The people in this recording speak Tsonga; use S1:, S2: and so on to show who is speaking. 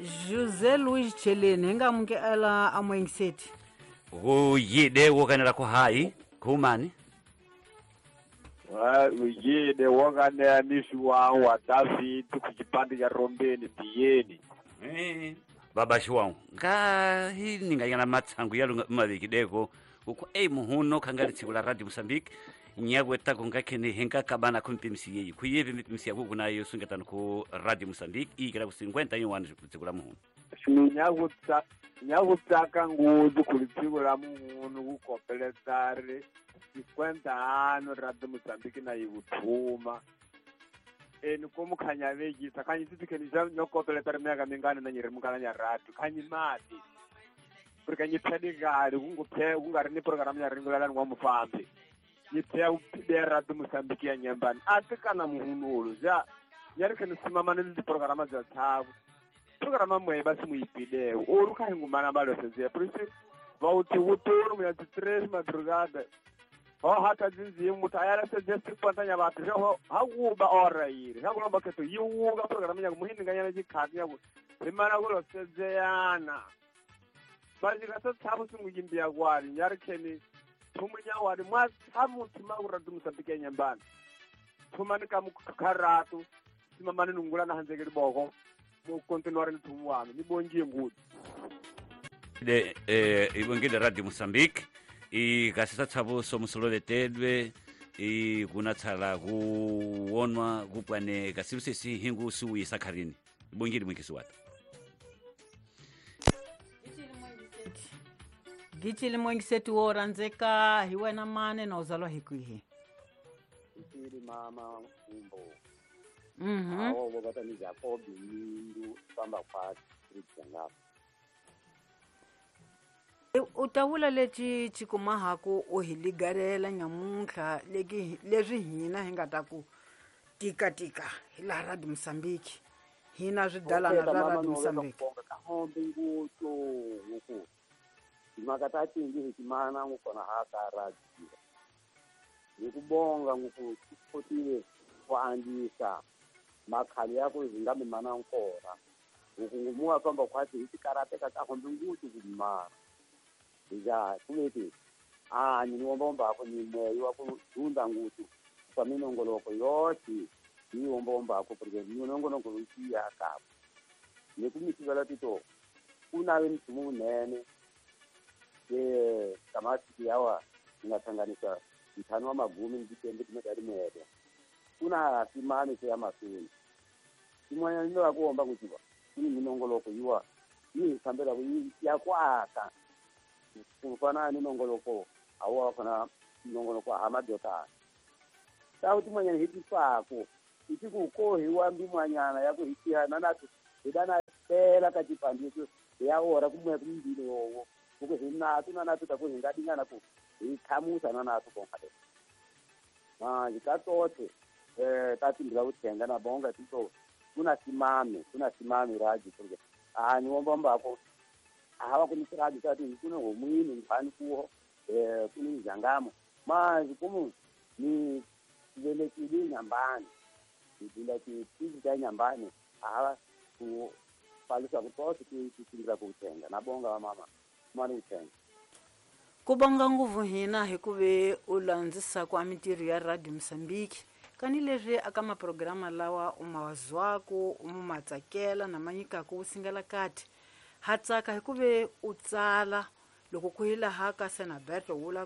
S1: José Luiz Cheleni hi nga amukela amuengiseti.
S2: Kuyide wokanela ku hayi khumani.
S3: Uyide wokanela nisi wa David ku chipande cha Rombeni biyeni.
S2: Baba Shiwang nga hi ninganyana matsangu ya maviki deko uku ei muhuno khangari tsiku la Radio Mozambique nyakweta kunga khene henka kabana khumpimisi yeyi khuyevi mipimisi yaku kunayo sungetano ku Radio Mozambique ikela ku 51 tsiku la muhuno.
S3: Nyakutsaka ngudzu kuli tsiku la muhuno kukopeletari 50 Radio Mozambique na yivuthuma. Eni komukhanya vekisa khanyi titikheni xa nyokopeletari myaka mingani na nyiri mukala nya radio khanyi mati porque nyi phedikali ku nga ri ni programu ya ringulelani wa mufambi yi phya ya Radio Mozambique ya nyambani a ti kana muhunulu ja ya ri kheni simamani ni tiprograma bya tshavo programa mwe ba si muyipilewo ori kha hingumana balosedzea por vauti wuturu muya ti-3 madrugada ho hata dzinzimu muthu a yalasedzea sipantanya vathu ho ha wuba ora yiri ha kulomba khetho yi wuka programa nyaku muhindinganyana chikhati nyaku rimana kulosedzeyana vajika sa tshavo singuyimbiya kwani nyari kheni thumunya wani mwa tshamu thuma ku Radio Mozambique ya nyambani thumani ka mukharatu simamani nungula na handzeke liboko mu kontinuare ni thumu wami ni bongiye ngudzu.
S2: De ibongile Radio Mozambique ikasisa tshavo somusolovetedwe ikunatshala kuwonwa kupwane kasilu sesi hingu siwisa kharini ibongile mwikisi wata.
S1: Gichili mwengiseti wo randzeka hi wena mane na uzalwa hi kwihi?
S4: Ichili mama umbo. Awo bobata ni Jacob Mindu famba kwa street ngapha.
S1: U ta vula lexi xikumahaku u hi ligarela nyamuntlha leki leswi hina hi nga ta ku tika tika hi laha Radio Mozambique hina swidalana swa Radio Mozambique.
S4: Kahombe ngutsu nguku timhaka ta tingi hi timana ngukona ha ka radio hi ku bonga nguku kotile ku andzisa makhali ya ku hi nga mimana nkona huku ngumuwa famba khwati hi tikarateka kahombe ngutsu ku mimana hija kuveti a ni wombomba ku ni moyo wa ku dunda ngutsu kwa minongoloko yote ni wombomba ku porque minongoloko yi ya ka ni ku mitivela tito kuna we mthumu munene ke kamati yawa nga thanganisa ntlhanu wa magumi ni titembe timekari mere kuna simame se ya masuni imwanya ndo wa kuomba kutiva ni minongoloko yiwa yi fambela ku ya ku aka ku fana ni nongoloko awa fana nongoloko ha madota tawu timwanyana hi tifako iti ku kohiwa mbimwanyana ya ku hitihana na hidana tela ka tipandiso ya ora kumwe kumbili yowo kuku hinatu na natu ta ku hingadingana ku hi thamusa na natu konka le manje ka tothe ta timbila ku thenga na bonga tito kuna simame raji porque a ni wombomba ko hava ku ni raji ta ti kuna homwini nkhani kuho kuni njangamo manje kumu ni velekile nyambani ndila ti ta nyambani hava ku palusa ku tothe ti timbila ku thenga na bonga wa mama mani ku thenga.
S1: Ku bonga nguvu hina hi ku ve u landzisa kwa mintirho ya Radio Mozambique kani leswi aka maprograma lawa u ma wazwaku u ma tsakela na manyikaku u singela kati ha tsaka hi ku ve u tsala loko ku hi laha ka Senaberto wula